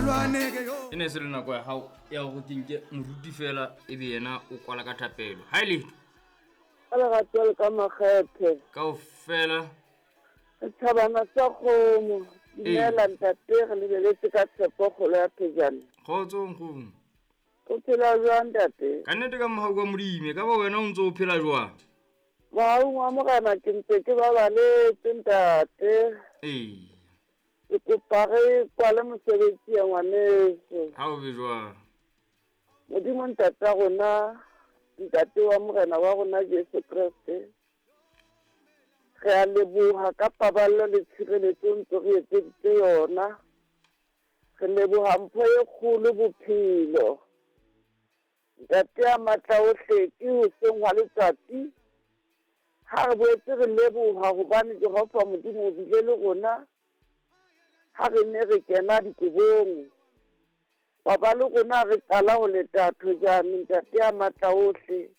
E ne se le nako ya hao ya hore ke nke moruti fela e be yena o kwala ka thapelo. Ha e letho. Ka lerato le ka makgethe. Kaofela. Setjhabana sa kgomo. Dumela ntate, re lebeletse ka tshepo kgolo ya phejane. Kgotso nkgono. O phela jwang ntate? Ka nnete ka mohau wa Modimo, e ka ba wena o ntse o phela jwang? Mohaung wa Morena ke ntse ke babaletse ntate. Ee. Ke kopa re kwale mosebetsi ya ngwaneso. Ha o be jwang? Modimo ntate wa rona, ntate wa Morena wa rona Jesu Kreste. Re a leboha ka paballo le tshireletso ntse re etseditse yona. Re leboha mpho e kgolo bophelo. Ntate ya matla ohle ke hoseng hwa letsatsi. Ha re boetse re leboha hobane Jehova Modimo o bile le rona. Ha re ne re kena dikobong. Wa ba le rona re qala ho leta thojane ntate ya matla ohle.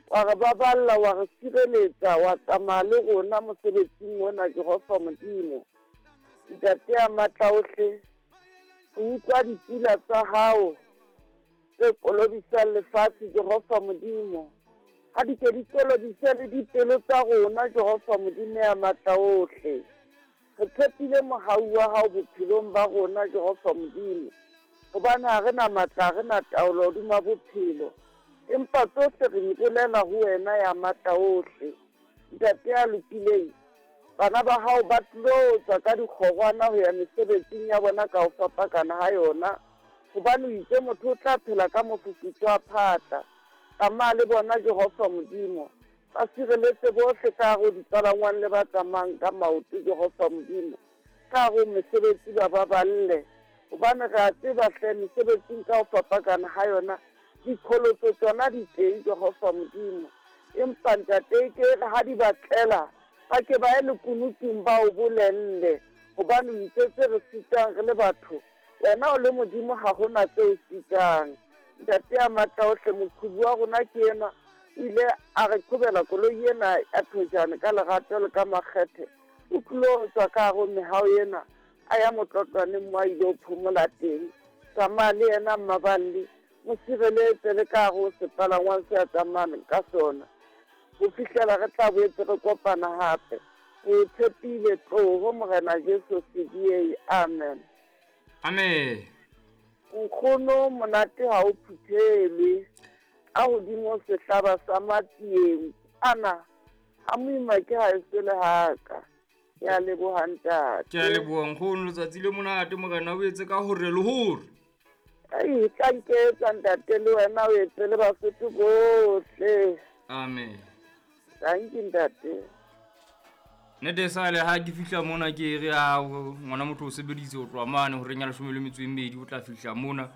Wa re baballa, wa re sireletsa, wa tsamaya le rona mosebetsing ona Jehova Modimo. Ntate ya matla ohle, o utlwa dipula tsa hao tse kolobisang lefatshe Jehova Modimo. Ha di ke di kolobise le dipelo tsa rona Jehova Modimo ya matla ohle. Re tshepile mohau wa hao bophelong ba rona Jehova Modimo. Hobane ha re na matla, ha re na taolo hodima bophelo. Empa tsohle re di bolela ho wena ya matla ohle. Ntate ya lokileng, bana ba hao ba tlilo tswa ka dikgorwana ho ya mesebetsing ya bona ka ho fapakana ha yona. Hobane o itse motho o tla phela ka mofufutso wa phatla. Tsamaya le bona Jehova Modimo. Ba sireletse bohle ka hare ho dipalangwang le ba tsamayang ka maoto Jehova Modimo. Ka hare ho mesebetsi ba baballe. Hobane re a tseba hle mesebetsing ka ho fapakana ha yona dikholotso tsona di teng Jehova Modimo. Empa ntate ke re ha di ba tlela ba ke ba ye lekunutung ba o bolelle. Hobane o itse tse re sitang re le batho, wena o le Modimo ha hona tse o sitang. Ntate ya matla ohle, moqhubi wa rona ke enwa, o ile a re qhobela koloi ena ya thojane ka lerato le ka makgethe. O tlilo tswa ka hare ho mehao ena, a ya motlotlwaneng mo a ile ho phomola teng. Tsamaya le yena mmaballi, mo sireletse le ka hare ho sepalangwang se a tsamayang ka sona. Ho fihlela re tla boetse re kopana hape. Re o tshepile, tloho Morena Jesu CDA. Amen. Amen. Nkgono monate ha o phuthelwe. Ka hodimo sehlaba sa matsieng. Ana, ha moima ke ha e sele haka. Ke a leboha ntate. Ke a leboha nkgono, letsatsi le monate Morena o etse ka hore le hore. Ai, tla nketsa ntate le wena o etse le Basotho bohle. Amen. Thank you ntate. Nete sale ha ke fihla mona ke re a ngwana motho o sebeditse ho tloha mane horeng ya 12 o tla fihla mona.